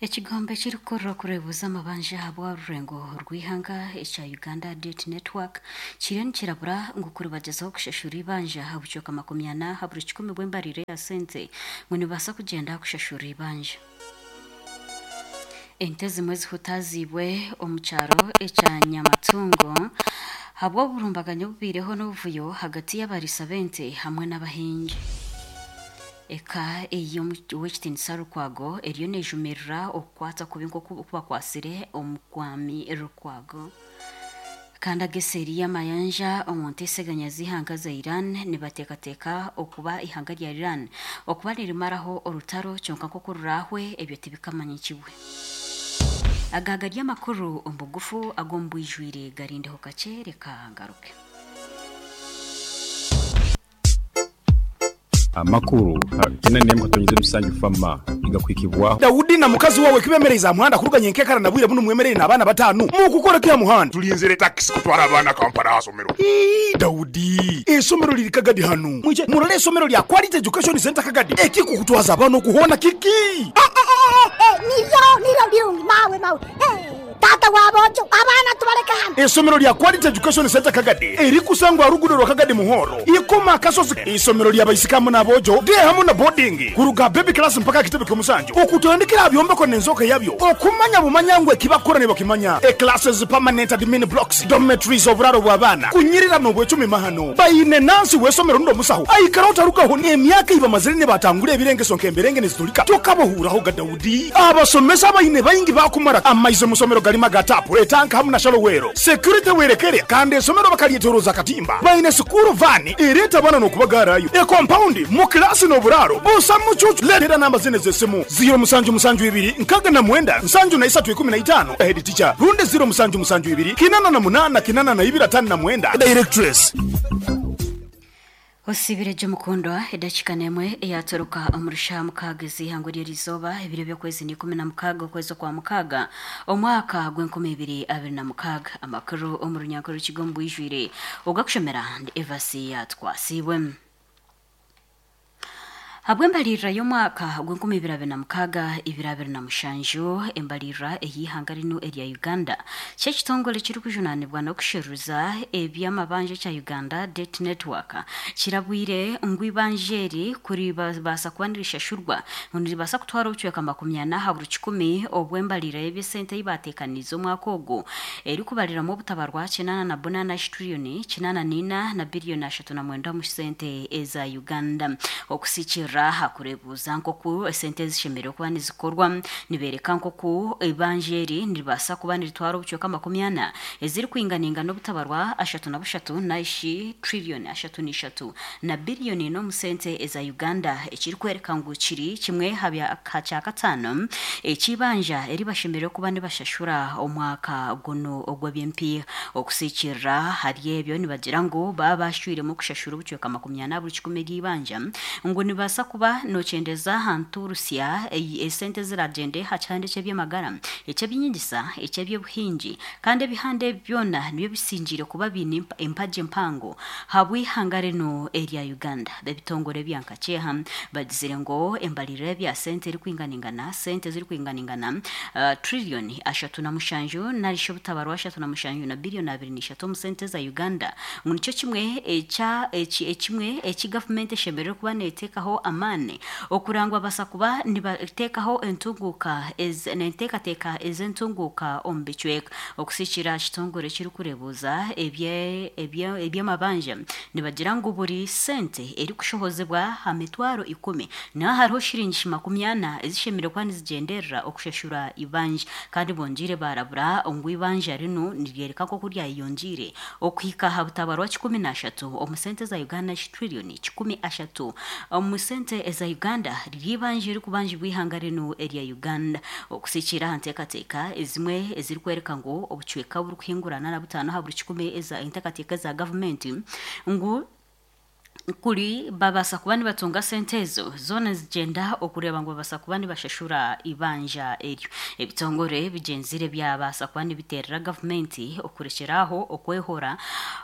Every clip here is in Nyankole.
Ekigombe ekirikukurira okureebuza amabanja ahabw'orurengo rw'eihanga ekya Uganda Debt Network kiriyo nikirabura ngu kuribagyezaho kushashura eibanja aha bucweka 40 aha buri kikumi bw'embarira ya sente ngu nibabaasa kugyenda aha kushashura eibanja. Ente ezimwe zihutaaziibwe omu kyaro ekya Nyamatungo ahabw'oburumbaganyi obubaireho n'obuvuyo ahagati y'abariisa b'ente hamwe n'abahingi. Eka ey'Owekitiinisa Lukwago eriyo nejumirira okukwatwa kubi nk'oku bakwatsire Omukwami Lukwago. Kandi aga eseeri y'amayanja omu nteeseganya z'eihanga za Iran nibateekateeka okuba eihanga rya Iran okuba nirimaraho orutaro kyonka nk'oku ruraahwe ebyo tibikamanyikibwe. Aga gari amakuru omu bugufu ag'omu bwijwire garindeho kakye reka ngaruke. Amakuru Kina n'emwe katonyeza emisanju Fama nigakuhikibwaho. Daudi na mukazi wawe ku bemereize aha muhanda kuruga nyenkekara na bwire bunu mwemereire n'abaana batanu, mukukora ki aha muhanda? Tulinzire takisi kutwara abaana Kampala aha somero. Ii, Daudi, eisomero liri Kagadi hanu. Mwije murole eisomero lya Quality Education Centre Kagadi. Ekikukutwaza abaana oku hoona kiki? Niryo, niryo rirungi mawe, mawe. Taata wa boojo, abaana tubaleke hanu. Eisomero lya Quality Education Centre Kagadi erikusangwa aha ruguudo rwa Kagadi Muhoro, Ikoma Akasozi. Eisomero lya baisiki hamu n'aboojo, day hamu na boarding, kuruga aha baby class mpaka aha kitebe ky'omusanju, okutandikira aha byombeko n'enzooka yabyo, okumanya bumanya ngu eki bakukora nibakimanya, e classes, permanent admin blocks, dormitories, oburaaro bw'abaana, kunyirira n'obwecumi mahano. Baine nansi w'eisomero rundi omusaho aikaraho tarugaho n'emyaka ei bamazire nibatangura ebirengeso nk'emberenge niziturika tokabahuuraho ga Daudi. Abasomesa abaine baingi baakumara amaizi omu somero garimu aga taapu, etanka hamu na shalowero. Security werekere kandi esomero bakaryetoroza akatimba. Baine sikuuru vaani ereeta abaana n'okubagaarayo. Ekompaundi mu kilaasi n'oburaaro busa mucuucu. Leetera namba zinu ez'esimu, ziiro musanju musanju ibiri nkaaga na mwenda nsanju na isatu ikumi na itaano, Head teacher, rundi ziiro musanju musanju ibiri kinana na munaana kinana na ibiri ataano na mwenda, Directress. Osiibire gye mukundwa, edakiika n'emwe eyaatoroka omu rushaaha mukaaga ez'eihangwe ry'erizooba, ebiro by'okwezi n'ikumi na mukaaga okwezi okwa mukaaga omwaka gw'enkumi ibiri abiri na mukaaga. Amakuru omu runyankore rukiga omu bwijwire ogakushomera ndi Evasi Yaatwasiibwe. Habw'embaliirira y'omwaka gw'enkumi ibiri abiri na mukaaga ibiri abiri na mushanju, embaliirira ey'eihanga rinu erya Uganda, ky'ekitongore ekirikujunaanibwa n'okusheruza eby'amabanja ekya Uganda Debt Network kirabwire ngu eibanja eri kuribaasa kuba nirishashurwa ngu niribaasa kutwara obucweka 40 aha buri kikumi obw'embaliirira y'eby'esente ei baateekaniize omwaka ogu erikubariramu obutabarwa kinaana na bunaana tiriyoni kinaana n'ina na biriyoni ashatu na mwenda omu sente eza Uganda. Okusikiirira aha kureebuuza nk'oku esente ezi zishemereire kuba nizikorwa, nibeereka nk'oku eibanja eri niribaasa kuba niritwara obucweka 40 ezirikwinganingana obutabarwa ashatu na bushatu narishi tiriyoni ashatu n'ishatu na biriyoni ina omu sente eza Uganda ekirikworeka ngu kiri kimwe aha kyakataano eky'eibanja eri bashemereire kuba nibashashura omwaka gunu ogw'eby'empiiha. Okusigiikirira ahari ebyo nibagira ngu baaba bashwiremu kushashura obucweka 40 buri kikumi ery'eibanja ngu nibaasa kuba nokyendeza aha ntuurutsya esente eziragyende aha kihanda eky'eby'amagara, eky'eby'enyegyesa, eky'eby'obuhingi kandi ebihanda ebi byona nibyo bisingiire kuba biine empagi mpango ahabw'eihanga rinu erya Uganda. Ebitongore ebya nkakyeha bagizire ngu embaririra y'ebya sente erikwinganingana sente ezirikwinganingana Trillion ashatu na mushanju narishi obutabarwa ashatu na mushanju na billion abiri na ishatu omu sente za Uganda ngu nikyo kimwe ekya eki ekimwe eki gavumenti eshemereire kuba neteekaho amaani okureba ngu babaasa kuba nibateekaho entunguuka ezi n'enteekateeka ez'entunguuka omu bicweka. Okusigiikirira aha kitongore ekirikureebuuza ebye ebye eby'amabanja nibagira ngu buri sente erikushohozibwa aha mitwaro ikumi Niho hariho shiringi 40 ezishemereire kuba nizigyenderera okushashura eibanja. Kandi bongyeire baarabura ngu eibanja rinu niryoreka nk'oku ryayeyongyeire okuhika aha butabarwa 13 omu sente za Uganda trillion 130 omu sente eza Uganda riri eibanja erikubanjibwa eihanga rinu erya Uganda. Okusigikiirira aha nteekateeka ezimwe ezirikworeka ngu obucweka oburikuhingurana na butaano aha buri kikumi eza enteekateeka eza gavumenti ngu. Kuri babaasa kuba nibatunga sente ezo zoona nizigyenda okureeba ngu babaasa kuba nibashashura eibanja eryo. Ebitongore bigyenzire byabaasa kuba nibiteerera gavumenti okurekyera aho okwehora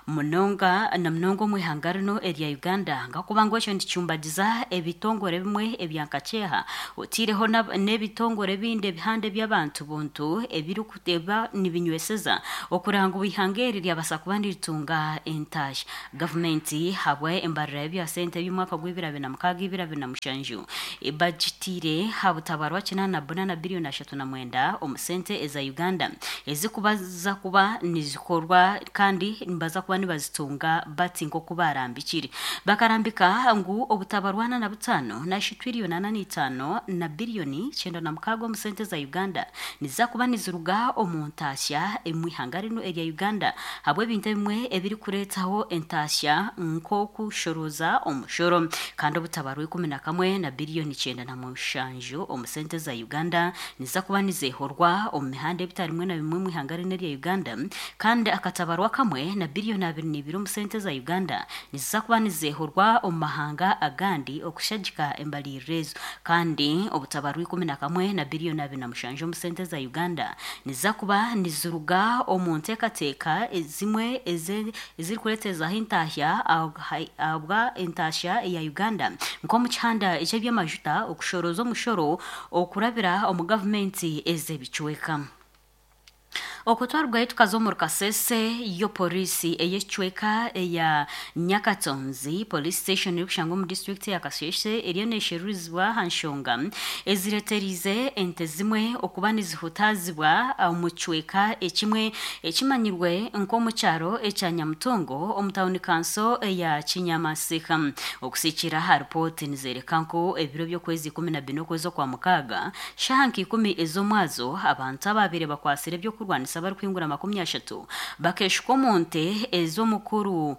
munonga na munonga omu ihanga rinu erya Uganda ahakuba ngu ekyo nikicumbagiza ebitongore ebimwe ebya nkakyeha oteireho n'ebitongore ebindi ebihanda eby'abantu buntu ebirikuba nibinyweseza okureeba ngu eihanga eri ryabaasa kuba niritunga entaasya. Gavumenti ahabwa embarira y'ebya sente ey'omwaka gwa 2006-2007 ebagitiire aha butabarwa 84 na biriyoni 39 omu sente eza Uganda ezikubaza kuba nizikorwa kandi nibaza kuba nibazitunga bati nk'oku baarambikire. Bakarambika ngu obutabarwa 45 narishi twiriyoni 45 na biriyoni 96 omu sente za Uganda niziza kuba niziruga omu ntaasya omu ihanga rinu erya Uganda ahabw'ebintu ebimwe ebirikureetaho entaasya nk'okushorooza omushoro kandi obutabarwa 11 na biriyoni 97 omu sente za Uganda niziza kuba nizeehorwa omu mihanda ebitari bimwe na bimwe omu ihanga rinu erya Uganda kandi akatabarwa kamwe na biriyoni 22 omu sente za Uganda niziza kuba nizeehorwa omu mahanga agandi okushagika embariirira ezo kandi obutabarwa 11 na biriyoni 27 omu sente za Uganda niziza kuba niziruga omu nteekateeka ezimwe ezirikureeterezaho entaahya ahabwa entaasya eya Uganda nk'omu kihanda eky'eby'amajuta okushorooza omushoro okurabira omu gavumenti ez'ebicweka. Okwo twarugayo tukaza omuri Kasese yo poriisi ey'ekicweka eya Nyakatonzi Police Station erikushangwa omu disiturikiti ya Kasese eriyo nesherurizibwa aha nshonga ezireteriize ente zimwe okuba nizihutaazibwa omu kicweka ekimwe ekimanyirwe nk'omu kyaro ekya Nyamutungo omu tauni kanso eya Kinyamasika. Okusigikiirira aha ripooti nizereka ngu ebiro by'okwezi 14 okwezi Okwamukaaga, Shaaha nka ikumi ez'omwazo, abantu abaabaire bakwatsire eby'okurwanisa barikuhingura 30 bakeeshuka omu nte ez'omukuru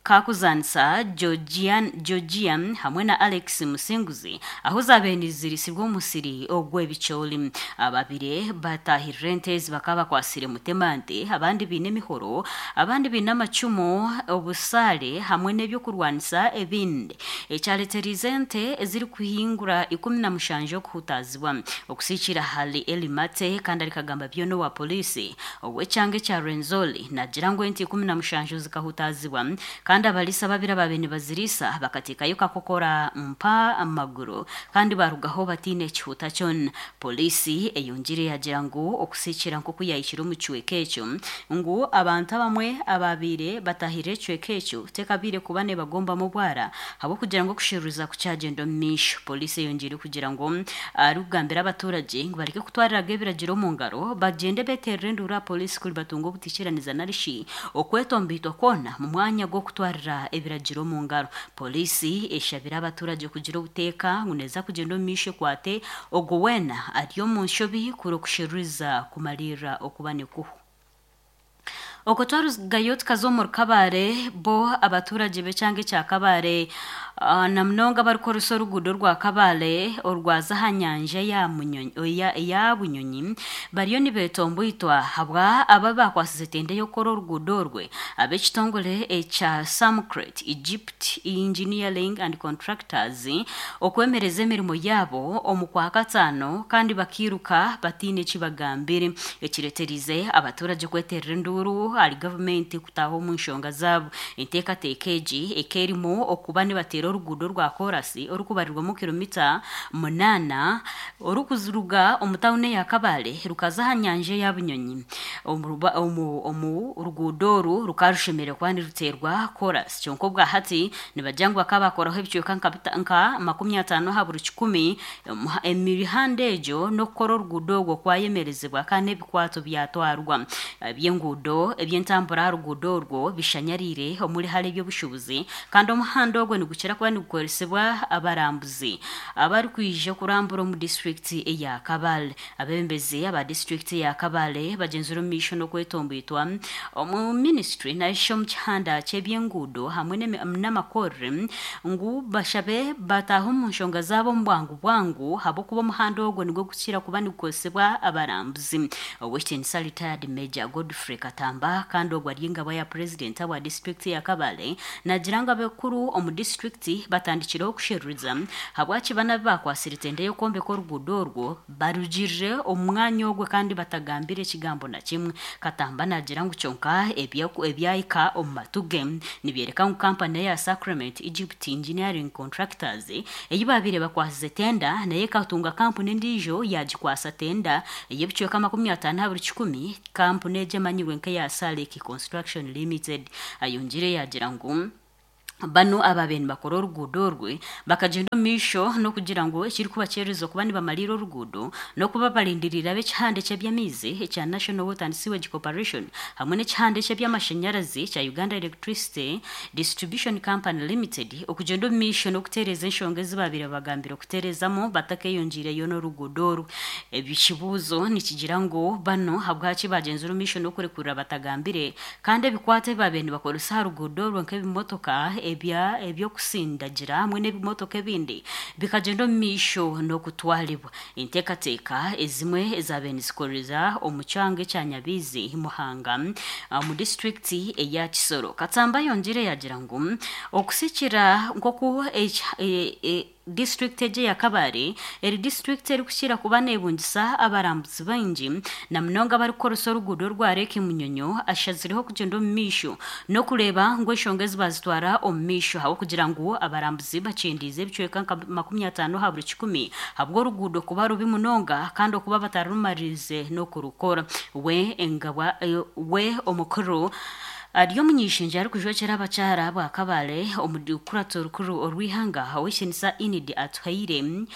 Kakuzaanisa Georgia hamwe na Alex Musinguzi ahu zaabaire niziriisibwa omu musiri ogw'ebicoori. Abaabaire bataahirire ente ezi bakaba bakwatsire mutemante, abandi baine emihoro, abandi baine amacumu, obusaare hamwe n'eby'okurwanisa ebindi. Ekyareetereize ente ezirikuhingura 17 okuhutaazibwa. Okusiikiira ahari Elly Mate kandi ari kagamba byona owa Poliisi ow'ekyanga ekya Rwenzori naagira ngu ente 17 zikahutaazibwa kandi abariisa babiri abaabaire nibaziriisa bakateekayo kakokora mpa amaguru kandi baarugaho bataine kihuta kyona. Poliisi eyongiire yaagira ngu okusiikiira nk'oku yaahikire omu kicweka ekyo ngu abantu abamwe abaabaire bataahirire ekicweka ekyo tekabaire kuba nebagombamu obwara ahabw'okugira ngu okusheruriza kukyagyenda omu maisho. Poliisi eyongyeire kugira ngu arikugambira abaturagye ngu bareke kutwariraga ebiragiro omu ngaro bagyende beterere enduuru aha poliisi kuri batunga obutiikiraniza narishi okwetomboitwa kwona mu mwanya gw'okutwarira ebiragiro omu ngaro. Poliisi eshabire abaturagye kugira obuteeka ngu neeza kugyenda omu maisho ekwate ogwo weena ari omu nshobi kuri okusheruriza kumariirira okuba nikuhwa. Okwo twarugayo tukaza omuri Kabale, bo abaturagye b'ekyanga ekya Kabale na munonga abarikukoresa oruguudo orwa Kabale orwaza aha nyanja eya Bunyonyi bariyo nibetomboitwa ahabwa abo abakwasize tenda ey'okukora oruguudo orwe ab'ekitongore ekya Samcrete Egypt Engineering and Contractors okwemereza emirimo yaabo omu Kwakataano kandi bakairuka bataine eki bagambire ekireeteriize abaturagye kweterera enduuru ahari gavumenti kutaaha omu nshonga zaabo. Enteekateeka egi eka erimu okuba nibateera oruguudo rwa koorasi orikubarirwamu kiromita munaana orikuruga omu tauni eya Kabale rukaza aha nyanja eya Bunyonyi. Omu ruguudo oru rukaba rushemereire kuba niruteerwa koorasi kyonka obwa hati nibagira ngu bakaba baakoraho ebicweka nka 50 aha buri kikumi Emihanda egyo n'okukora oruguudo orwo kwayemerezibwa kandi n'ebikwato byatwarwa. Eby'enguudo, eby'entambura aha ruguudo orwo bishanyariire omuri hare eby'obushuubuzi kandi omuhanda ogwo nigukira kuba nigukoresibwa abarambuzi abarikwija kurambura omu disiturikiti eya Kabale. Abeebembezi aba disiturikiti eya Kabale bagyenzire omu maisho n'okwetomboitwa omu minisitule narishi omu kihanda ky'eby'enguudo hamwe n'amakorere ngu bashabe bataahe omu nshonga zaabo omu bwangu bwangu ahabw'okuba omuhanda ogwo nigwo gukira kuba nigukozesibwa abarambuzi. Ow'ekitiinisa Retired Major Godfrey Katamba Katamba kandi ogwo ari engabwa ya purezidenti wa disitulikiti ya Kabale nagira ngu abakuru omu disitulikiti batandikireho kusheruriza habwaki bana abu bakwasire tenda y'okwombeka oruguudo orwo barugirire omu mwanya ogwe kandi batagambire ekigambo na kimwe. Katamba nagira ngu kyonka ebyahika omu matu ge nibyereka ngu kampani eya Sacrament Egypt Engineering Contractors ei babaire bakwasize tenda nayo ekatunga kampuni endiijo yagikwasa tenda ey'ebicweka 50 aha buri kikumi, kampuni egi emanyirwe nk'eya Salik Construction Limited. Ayongiire yagira ngu banu ababaire nibakora oruguudo orwe bakagyenda omu maisho n'okugira ngu ekirikubakyerereza okuba nibamariira oruguudo n'okuba barindiriire ab'ekihanda eky'eby'amaizi ekya National Water and Sewage Corporation hamwe n'ekihanda eky'eby'amashanyarazi ekya Uganda Electricity Distribution Company Limited okugyenda omu maisho n'okutereeza enshonga ezi baabaire babagambire okutereezamu batakeyongiireyo n'oruguudo oru. Ekibuuzo nikigira ngu banu habwaki baagyenzire omu maisho n'okurekurira batagambire kandi ebikwato ebi baabaire nibakoresa aha ruguudo orwo nk'ebimotoka eby'okusindagira hamwe n'ebimotoka ebindi bikagyenda omu maisho n'okutwaribwa. Enteekateeka ezimwe ezaabaire nizikorerwa omu kyanga ekya Nyabiizi, Muhanga omu disiturikiti eya Kisoro. Katsamba ayongiire yaagira ngu okusikira nk'oku disiturikiti egi eya Kabale eri disiturikiti erikukira kuba neebungisa abarambuzi baingi na munonga abarikukoresa oruguudo orwa Lake Munyonyo ashazireho kugyenda omu maisho n'okureeba ngu enshonga ezi baazitwara omu maisho ahabw'okugira ngu abarambuzi bakyendiize ebicweka nka 50 aha buri kikumi ahabw'oruguudo kuba rubi munonga kandi okuba batarumaririize n'okurukora. We engabwa we omukuru ari omuny'eishengyero arikujwekyera abakyara ba Kabale omu rukurato rukuru orw'eihanga Ow'ekitinisa Enid Atuhaire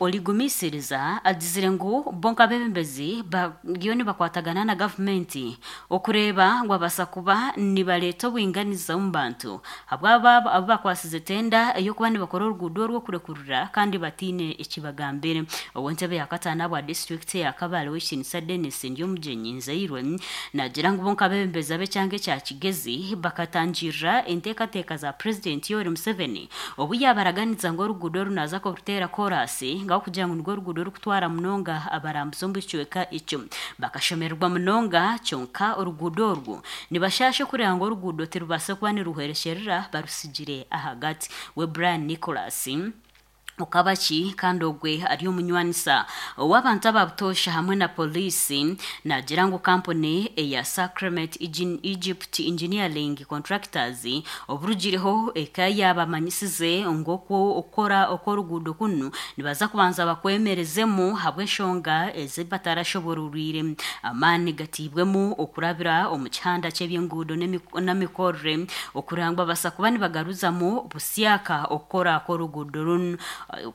origumisiriza agizire ngu bo nk'abeebembezi bariyo nibakwatagana na gavumenti okureeba ngu babaasa kuba nibareeta obwinganiza omu bantu ahabw'abo abu bakwasize tenda ey'okuba nibakora oruguudo orwo kurekurira kandi bataine eki bagambire. Ow'entebe ya kataano ahabwa disiturikiti eya Kabale Ow'ekitinisa Denis Ndyomugyenyi Nzairwe naagira ngu bo nk'abeebembezi ab'ekyanga ekya Kigezi bakatangirira enteekateeka za Purezidenti Yoweri Museveni obu yaabaraganisa ngu oruguudo oru naaza kuruteera koraasi ngu ahabw'okugira ngu nirwo ruguudo orukutwara munonga abarambuzi omu kicweka ekyo. Bakashemererwa munonga kyonka oruguudo orwo nibashaasha okureeba ngu oruguudo tirubaasa kuba niruhwerekyerera barusigire ahagati. We Brian Nicholas Okabaki kandi ogwe ari omunywanisa ow'abantu aba butoosha hamwe na Poliisi naagira ngu kampuni eya Sacrament Egypt Engineering Contractors oburugireho eka yaabamanyisize ngu okukora okw'oruguudo kunu nibaza kubanza bakwemerezemu ahabw'enshonga ezi batarashobororwire. Amaani gataibwemu okurabira omu kihanda ky'eby'enguudo n'emikorere okureba ngu babaasa kuba nibagaruzamu busyaka okukora kw'oruguudo runu.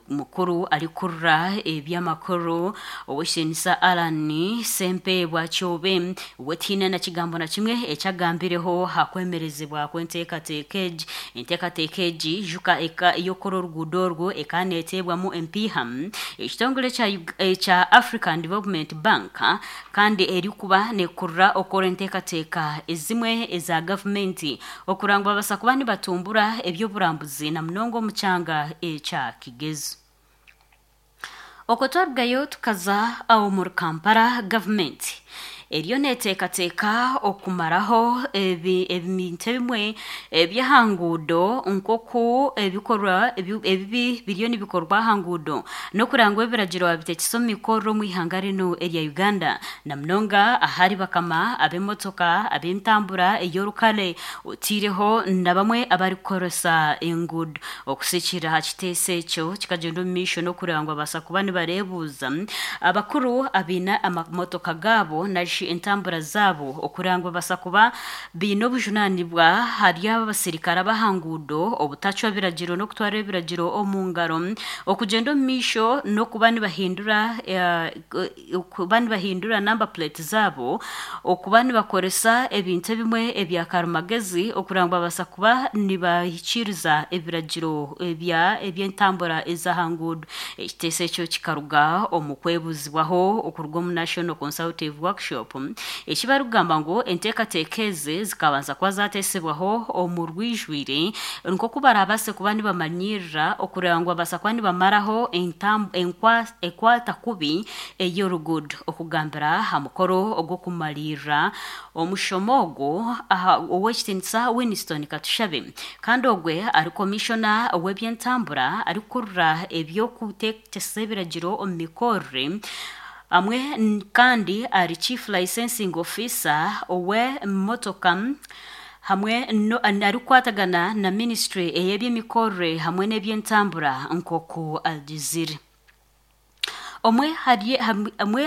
Mukuru arikukurira eby'amakuru Ow'ekitinisa Allan Ssempeebwa Kyobe we tihaine na kigambo na kimwe eki agambireho aha kwemerezibwa kw'enteekateeka egi. Enteekateeka egi ijuka ey'okukora oruguudo orwo ekaba neeteebwamu empiiha ekitongore ekya African Development Bank kandi erikuba neekurira okukora enteekateeka ezimwe eza gavumenti okureba ngu babaasa kuba nibatumbura eby'oburambuzi na munonga omu kyanga ekya Kigezi. Okwo twarugayo tukaza omuri Kampala, gavumenti eriyo neeteekateeka okumaraho ebintu ebimwe eby'aha nguudo nk'oku ebikorwa ebibi biriyo nibikorwa aha nguudo n'okureba ngu ebiragiro babitekyesa omu mikorere omu ihanga rinu erya Uganda na munonga ahari bakama ab'emotoka, ab'entambura ey'orukare otaireho na bamwe abarikukoresa enguudo. Okusigiikirira aha kiteeso ekyo, kikagyenda omu maisho n'okureeba ngu babaasa kuba nibareebuuza abakuru abaine amamotoka gaabo narishi entambura zaabo okureeba ngu babaasa kuba baine obujunaanibwa ahari abo abasirikare ab'aha nguudo obutacwa biragiro n'okutwara ebiragiro omu ngaro, okugyenda omu maisho n'okuba nibahindura okuba nibahindura namba puleeti zaabo, okuba nibakoresa ebintu ebimwe ebya karimagezi okureba ngu babaasa kuba nibahikiiriza ebiragiro eby'entambura ez'aha nguudo. Ekiteeso ekyo kikaruga omu kwebuuzibwaho okuruga omu National Consultative Workshop. Workshop. Eki barikugamba ngu enteekateeka ezi zikabanza kuba zateesibwaho omu rwijwire nk'oku barabaase kuba nibamanyirira okureba ngu babaasa kuba nibamaraho enkwata kubi ey'oruguudo. Okugambira aha mukoro ogw'okumariirira omushomo ogwo ow'ekitiinisa Winston Katushabe kandi ogwe ari komishona w'eby'entambura arikukurira eby'okuteekyesa ebiragiro omu mikorere amwe kandi ari chief licensing officer ow'emotoka hamwe arikukwatagana na ministry ey'eby'emikorere hamwe n'eby'entambura nk'oku agizire. Omwe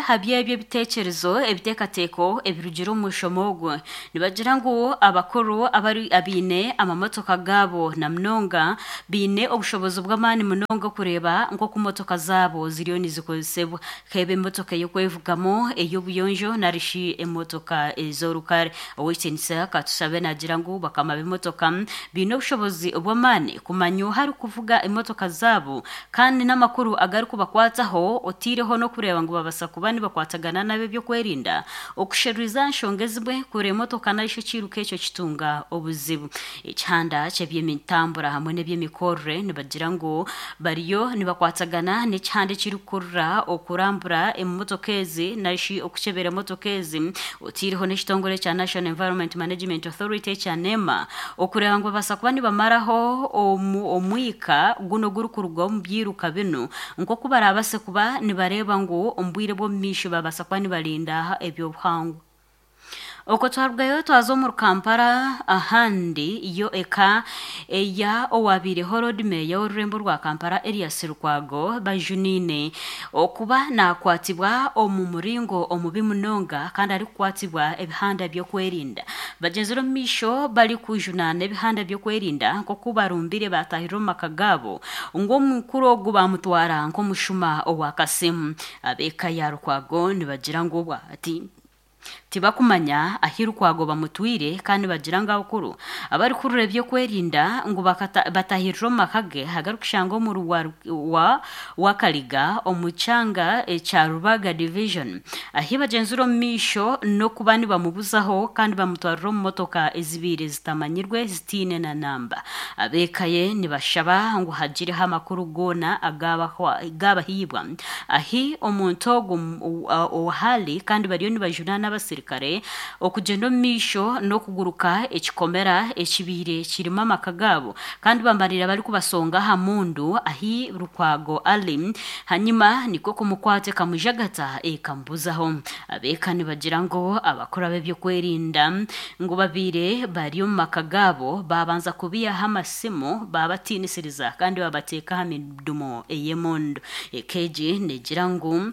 hari ebyo ebiteekyerezo ebiteekateeko ebirugire omu mushomo ogwo nibagira ngu abakuru abaine amamotoka gaabo na munonga baine obushobozi bw'amaani munonga okureeba nk'oku motoka zaabo ziriyo nizikozesebwa hebe emotoka ey'okwevugamu ey'obuyonjo narishi emotoka ez'orukare. Ow'ekitiinisa Katushabe naagira ngu bakama b'emotoka baine obushobozi bw'amaani kumanya oha arikuvuga emotoka zaabo kandi n'amakuru agarikubakwataho otiireho n'okureeba ngu babaasa kuba nibakwatagana n'ab'ebyokwerinda okusheruriza nshonga ezimwe kure emotoka narishi ekiiruka ekyo kitunga obuzibu. Ekihanda ky'eby'emitambura hamwe n'eby'emikorere nibagira ngu bariyo nibakwatagana n'ekihanda ekirikukurira okurambura emotoka ezi narishi okukyebera emotoka ezi otiireho n'ekitongore kya National Environment Management Authority ekya NEMA okureeba ngu babaasa kuba nibamaraho omwika guno ogurikuruga omu byiruka binu nk'oku barabaase kuba nibareeba ngu omu bwire bw'omu maisho babaasa kuba nibarinda ebyobuhangwa. Okwo twarugayo twaza omuri Kampala ahandi yo eka eya owabaireho Lord Mayor w'orurembo rwa Kampala Erias Lukwago bajuniine okuba nakwatibwa omu muringo omubi munonga kandi arikukwatibwa ebihanda by'okwerinda. Bagyenzire omu maisho barikujunaana ebihanda by'okwerinda nk'oku barumbire batahirira omu maka gaabo ngu omukuru ogu bamutwara nk'omushuma owa kasimu. Ab'eka ya Lukwago nibagira ngu obwahati tibakumanya ahi Lukwago bamutwire kandi bagira ngu abakuru abarikurura ebyokwerinda ngu batahirira omu maka ge agarikushangwa omuri Wakaliga omu kyanga ekya Rubaga Division ahi bagyenzire omu maisho n'okuba nibamubuzaho kandi bamutwarira omu motoka ezibaire zitamanyirwe zitiine na namba. Ab'eka ye nibashaba ngu hagireho amakuru goona agabahiibwa ahi omuntu ogu ohari kandi bariyo nibajunaana abasirikare okugyenda omu maisho n'okuguruka ekikomera ekibaire kirimu amaka gaabo kandi bamarira barikubasonga aha mundu ahi Lukwago ari hanyuma nikwo kumukwata ekamujagata ekamubuzaho. Ab'eka nibagira ngu abakuru ab'ebyokwerinda ngu babaire bari omu maka gaabo babanza kubiihaho amasimu babatiinisiriza kandi babateeka aha midumo ey'emondo. Eka egi neegira ngu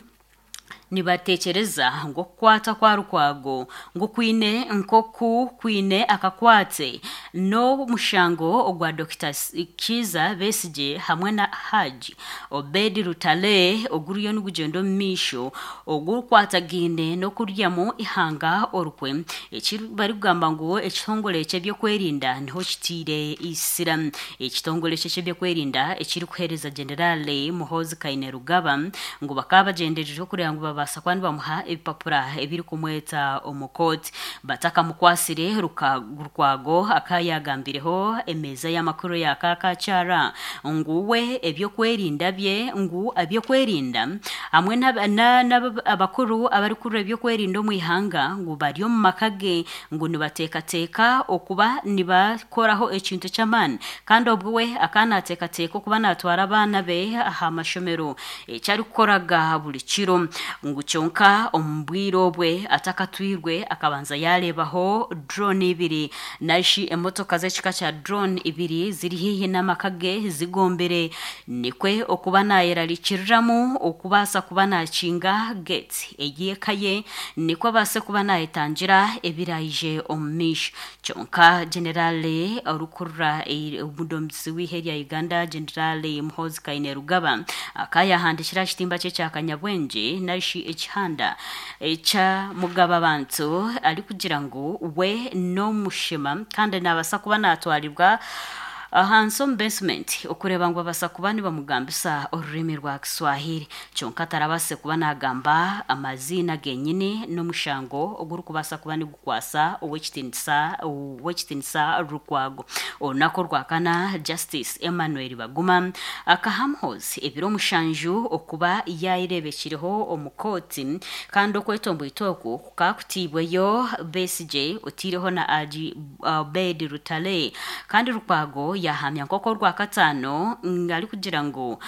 nibateekyereza ngu okukwata kwa Lukwago ngu kwine nk'oku kwine akakwate n'omushango ogwa Dr. Kiiza Besigye hamwe na Haji Obed Lutale oguriyo nigugyenda omu maisho ogurukwatagaine n'okuryamu ihanga orukwe eki barikugamba ngu ekitongore ky'ebyokwerinda niho kitiire isira. Ekitongore ky'ebyokwerinda ekirikuheereza General Muhoozi Kainerugaba ngu bakaba bagyendereire okureba ngu babaasa kuba nibamuha ebipapura ebirikumweta omu kooti. Batakamukwasire Lukwago akaba yagambireho emeeza y'amakuru ya Kakakyara ngu we ebyokwerinda bye ngu ebyokwerinda hamwe n'abakuru abarikurura ebyokwerinda omu ihanga ngu bari omu maka ge ngu nibateekateeka okuba nibakoraho ekintu ky'amaani kandi obwo we akaba naateekateeka okuba naatwara abaana be aha mashomero eki arikukoraga buri kiro ngu kyonka omu bwire obwe atakatwirwe akabanza yareebaho drone ibiri narishi emotoka z'ekika kya drone ibiri ziri haihi n'amaka ge zigombere nikwe okuba naayerarikiriramu okubaasa kuba naakinga gate ey'eka ye nikwo abaase kuba naayetangira ebiraije omu maisho. Kyonka General orikurura omudomisi w'ihe rya Uganda General Muhoozi Kainerugaba akaba yahandiikire aha kitimba kye kya Kanyabwengye narishi ekihanda ekya Mugababantu arikugira ngu we n'omushema kandi naabaasa kuba naatwarirwa Ahansi omu basement okureeba ngu babaasa kuba nibamugambisa orurimi rwa Kiswahili kyonka tarabaasise kuba nagamba amaziina genyini n'omushango ogurikubaasa kuba nigukwasa Ow'ekitiinisa Ow'ekitiinisa Lukwago. Orunaku orwakana, Justice Emmanuel Baguma akaha Muhoozi ebiro mushanju okuba yayereebekireho omu kooti kandi okwetomboita oku kukakutiibweyo Besigye oteireho na Agi Obed Lutale kandi Lukwago yahamya nk'oku orwakataano arikugira ngu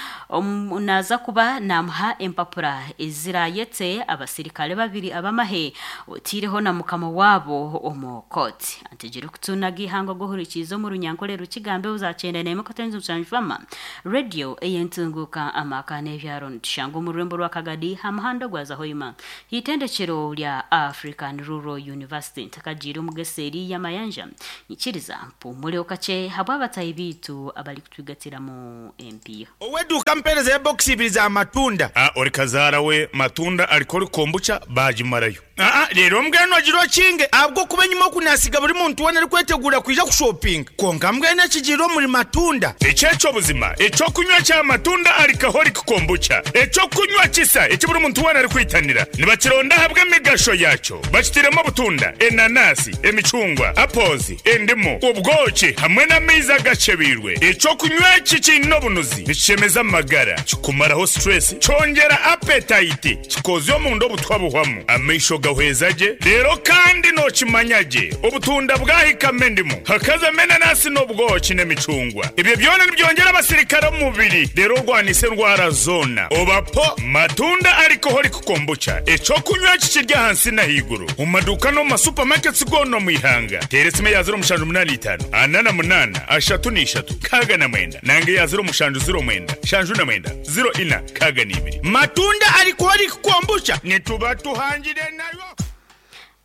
naaza kuba naamuha empapura eziraayete abasirikare babiri ab'amahe oteireho na mukama waabo omu kooti. Antegire kutuunaga eihanga ogw'ohurikiize omu Runyankore Rukigambe 91.7 Fama Radio ey'entunguuka amaka n'ebyaro nitushanga omu rurembo rwa Kagadi aha muhanda ogwaza Hoima Eitendekero rya African Rural University ntakagiire omu geseeri y'amayanja, nyikiriza mpuumureho kakye habw'abataahi baitu abarikutwigatiramu empiiha. Ow'eduuka ampeereza ebokisi ibiri za matunda. A Ori kazaara we matunda ariko ori kombucha baagimarayo. Aa Reero mbwenu ogire okinge ahabw'okuba enyima oku naasiga buri muntu weena arikweteguura kwija kushopinga. Kwonka mbwenu ekigiire omuri matunda. Eki eky'obuzima, eky'okunywa kya matunda alcoholic kombucha, eky'okunywa kisa eki buri muntu weena arikwitanira. Nibakironda ahabw'emigasho yaakyo. Bakitairemu obutunda, enanasi, emicungwa, apples, endimu, obwoki hamwe n'amaizi agakyebeirwe. Eky'okunywa eki kiine obunuzi, nikishemeza amagara, kikumaraho stress, kyongyera appetite, Kikoozya omunda obutwa buhwamu, amaisho gahweza gye, reero kandi nookimanya gye obutunda bwahikamu endimu, hakazamu enanasi n'obwoki n'emicungwa. Ebyo byona nibyongyera abasirikare omu mubiri reero orwanise endwara zoona. Oba po matunda alcoholic kombucha, eky'okunywa eki kiri ahansi n'ahaiguru omu maduuka n'omu ma supermarkets goona omu ihanga. Teera esimu eya 0785 48 33 69 nanga eya 0709 79 04 62. Matunda alcoholic kombucha nituba tuhangire nayo.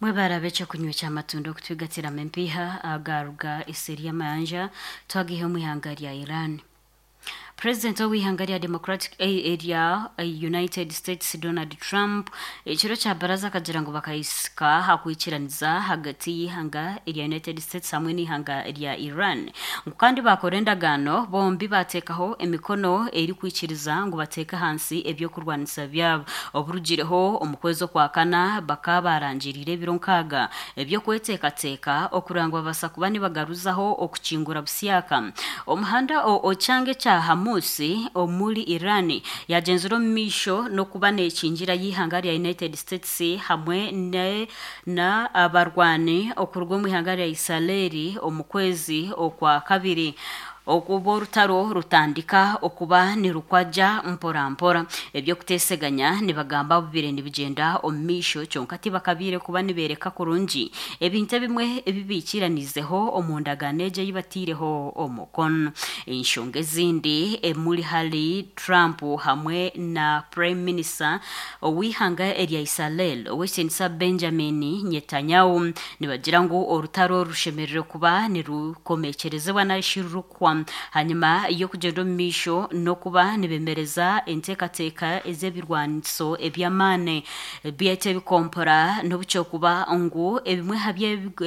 Mwebare ab'ekyokunywa ky'amatunda okutwigatiramu empiiha agaruga eseeri y'amayanja twagiiha omu ihanga rya Iran. Purezidenti ow'eihanga rya Democratic erya United States Donald Trump ekiro kya baraza akagira ngu bakahika aha kwikiraniza ahagati y'eihanga erya United States hamwe n'eihanga rya Iran ngu kandi baakora endagaano bombi baateekaho emikono erikwikiriza ngu bateeke ahansi eby'okurwanisa byabo. Oburugireho omu kwezi Okwakana bakaba baarangiriire ebiro nkaaga eby'okweteekateeka okureba ngu babaasa kuba nibagaruzaho okukingura busyaka omuhanda ekyanga ekya Hamus omuri Iran yaagyenzire omu maisho n'okuba neekingira y'eihanga rya United States hamwe na abarwani okuruga omu ihanga rya Israeli omu kwezi Okwakabiri obu orutaro rutandika okuba nirukwagya mpora mpora. Eby'okuteeseganya nibagamba bubire nibigyenda omu maisho kyonka tibakabiire kuba nibeereka kurungi ebintu ebimwe ebi baikiraniizeho omu ndagaano egyo ei bataireho omukono. Enshonga ezindi emuri hari Trump hamwe na Prime Minister ow'eihanga erya Israel, Ow'ekitiinisa Benjamin Netanyahu nibagira ngu orutaro oru rushemereire kuba nirukomekyerezibwa narishi rurikuhwa hanyima y'okugyenda omu maisho n'okuba nibemereza enteekateeka ez'ebirwaniso eby'amaani byaitu ebikompora n'obu kyokuba ngu ebimwe aha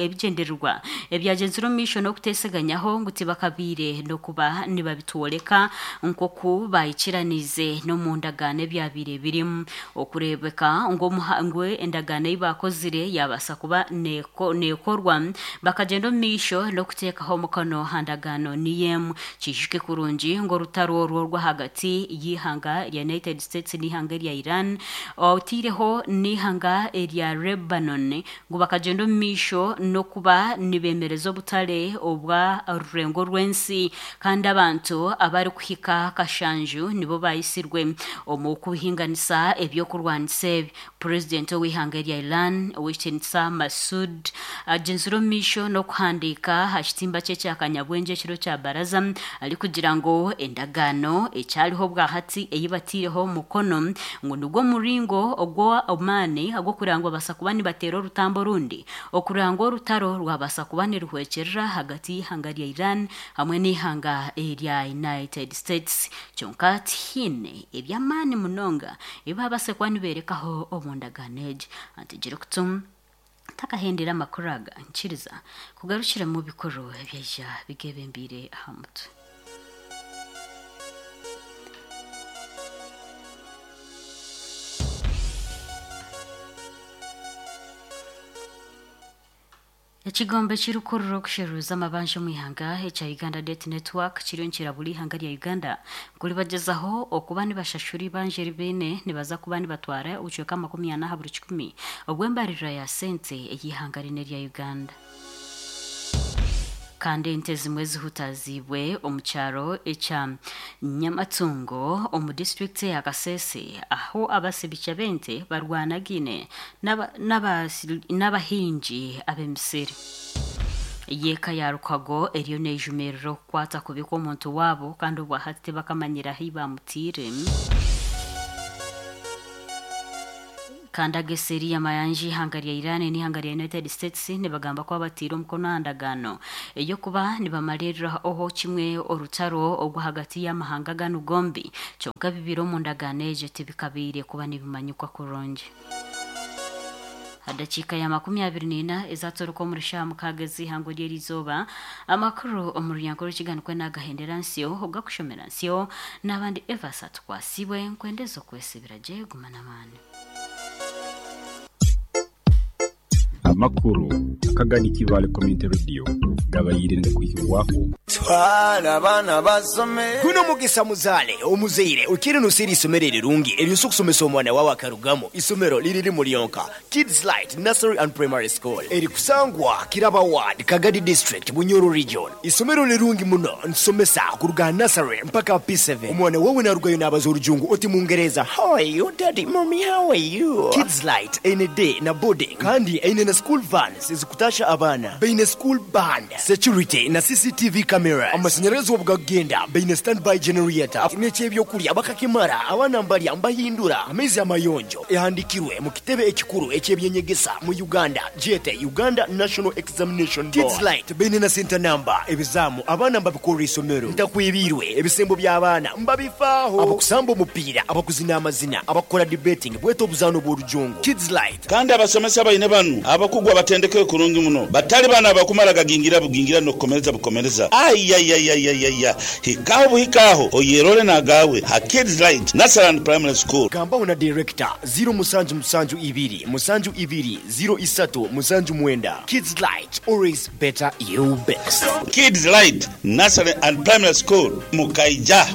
ebigyendererwa ebyagyenzire omu maisho n'okuteeseganyaho ngu tibakabaire n'okuba nibabitworeka nk'oku baikiraniize n'omu ndagaano ebyabaire birimu. Okureebeka ngu ngu endagaano ei baakozire yaabaasa kuba neekorwa, bakagyenda omu maisho n'okuteekaho omukono aha ndagaano niyo emwe. Kiijuke kurungi ngu orutaro orwo orw'ahagati y'eihanga rya United States n'eihanga erya Iran, otaireho n'eihanga erya Lebanon, ngu bakagyenda omu maisho n'okuba nibeemereza obutare obwa rurengo rw'ensi kandi abantu abarikuhika kashanju nibo baayitsirwe omu kuhinganisa eby'okurwanisa ebi. Purezidenti ow'eihanga erya Iran, Ow'ekitiinisa Masoud agyenzire omu maisho n'okuhandiika aha kitimba kye kya kanyabwengye ekiro kya baraza arikugira ngu endagaano ekyariho obwahati ei bataireho omukono ngu nigwo muringo ogw'amaani ag'okureeba ngu babaasa kuba nibateera orutambi orundi okureeba ngu orutaro rwabaasa kuba niruhwekyerera ahagati y'eihanga rya Iran hamwe n'eihanga erya United States. Kyonka tihaine eby'amaani munonga ebi baabaasa kuba nibeerekaho omu ndagaano egi. Antegire kutu. Ntakahendera amakuru aga nkiriza kugarukira mu bikuru ebyaija bigebembiire aha mutwe. Ekigombe ekirikukurura okusheruza amabanja omu ihanga ekya Uganda Debt Network kiriyo nikirabura eihanga rya Uganda ngu ribagyezaho okuba nibashashura eibanja eri baine nibaza kuba nibatwara obucweka 40 aha buri kikumi obw'embaririra ya sente ey'eihanga rinu erya Uganda. Kandi ente ezimwe zihutaziibwe omu kyaro ekya Nyamatungo omu disiturikiti eya Kasese ahu abasibikya b'ente barwanagaine n'abahingi ab'emisiri. Y'eka ya Lukwago eriyo neejumirira okukwata kubi kw'omuntu waabo kandi obwahati tibakamanyire ahu baamutaire. Kandi ageseeri y'amayanja eihanga rya Iran n'eihanga rya United States nibagamba ku abataire omukono aha ndagaano ey'okuba nibamariirira oho kimwe orutaro ogw'ahagati y'amahanga ganu gombi kyonka ebibaire omu ndagaano egyo tibikabaire kuba nibimanyikwa kurungi. Aha dakiika ya 24 ezatoroka omuri shaaha mukaaga ez'eihangwe ry'erizooba, amakuru omu runyankore rukiga nikwo nagahendera nsyo ogakushomera nsyo n'abandi Evas Atukwasibwe nkwendeza okwesibira gye guma n'amaani. Amakuru akagani Kibaale Community Radio gabaire nigakwihibwaho. Twala abaana basome. Guno mugisa muzaale omuzaire okiire noseera eisomero erirungi eryosa okusomesa omwana wawe akarugamu. Isomero liri limu lyonka, Kids Light Nursery and Primary School erikusangwa Kiraba Ward, Kagadi District, Bunyoro Region. Isomero lirungi muno nitusomesa kuruga aha nursery mpaka aha P7. Omwana wawe narugayo nabaza orujungu oti mungereza How are you daddy, mummy how are you? Kids Light eine day na boarding kandi eine na school vans ezikutasha abaana. Baine school band, security na CCTV cameras. Amashanyarazi obu gakugenda baine standby generator n'eky'ebyokurya bakakimara abaana mbarya mbahindura amaizi amayonjo. Ehandikirwe mu kitebe ekikuru eky'ebyenyegesa mu Uganda gyete Uganda National Examination Board. Kids Light baine na center number, ebizaamu abaana mbabikorera isomero, ntakwibiirwe, ebisembo by'abaana mbabifaaho, abakusamba omupiira, abakuzina amazina, abakukora debating bwete obuzaano bw'orujungu. Kids Light. Kandi abasomesa baine banu abakugu abatendekere kurungi muno, batali bano abakumara gagingira bugingira n'okukomereza bukomereza. Ayayayayaya! Hikaho buhikaho oyerole n'agaawe ha Kids Light Nursery and Primary School. Gambaho na Director, ziro musanju musanju ibiri musanju ibiri ziro isatu musanju mwenda. Kids Light, always better you best. Kids Light Nursery and Primary School, Mukaija.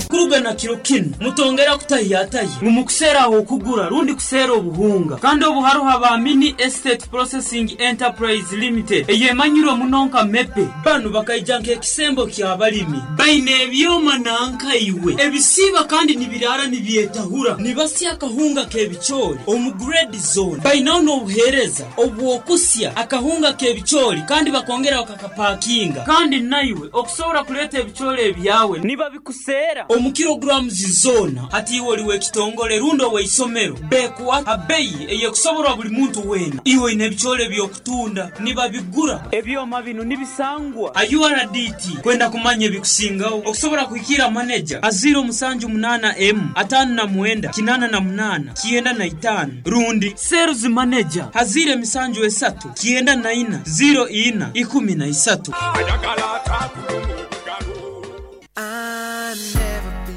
Kuruga na kiro kinu, mutongera kutahiyatahya ngu mukuseera ah'okugura rundi kuseera obuhunga. Kandi obu haroho aba Mini Estate Processing Enterprise Limited eyemanyirwe muno nka MEPE. Banu bakaija nk'ekisembo ky'abalimi. Baine ebyoma nanka iwe ebisiiba kandi nibiraara nibyetahura. Nibasya akahunga k'ebicoori omu grade zoona. Bainaho n'obuheereza obw'okusya akahunga k'ebicoori kandi bakongera bakakapakinga. Kandi naiwe okusobora kuleeta ebicoori ebyawe nibabikuseera omu kilograms zoona. Hati iwe oli w'ekitongole rundi ow'eisomero, bekuha ha beyi ey'ekusoborwa buli muntu weena. Iwe oine ebicoori eby'okutunda, nibabigura. Ebyoma binu nibisangwa ha URDT. Kwenda kumanya ebikusingaho, okusobora kuhikiira maneja ha ziiro musanju munaana emu, ataano na mwenda, kinaana na munaana, 95 rundi Sales Manager ha ziiro emisanju esatu, 94, ziiro ina, 13.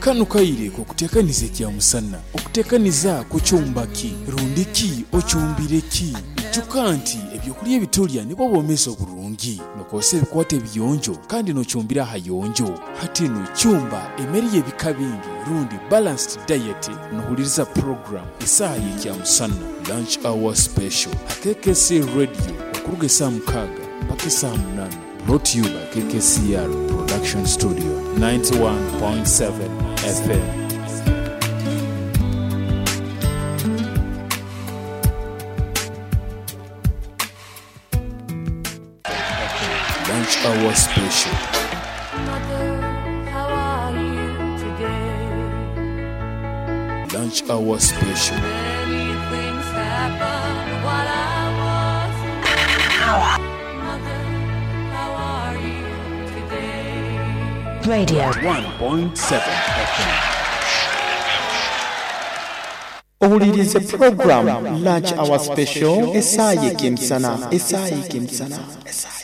Kanu kaire k'okuteekaniza ekyamusana. Okuteekaniza kucumba ki? Rundi ki ocumbire ki? Ijuka nti ebyokulya ebitulya nibwo bwomeezi oburungi. Nokozesa ebikwato ebiyonjo kandi nocumbira ahayonjo. Hati nu cumba emere y'ebika bingi rundi balanced diet nohuliriza program Esaaha y'Ekyamusana, Lunch Hour Special, ha KKC Radio okuruga esaaha mukaaga mpaka esaaha munana. Brought to you by KKCR Production Studio, 91.7 FM. Lunch Hour Special. Lunch Hour Special. Radio. 1.7 FM. Ohulirize program Lunch Hour Special esaaha y'ekemisana, esaaha y'ekemisana, esaaha.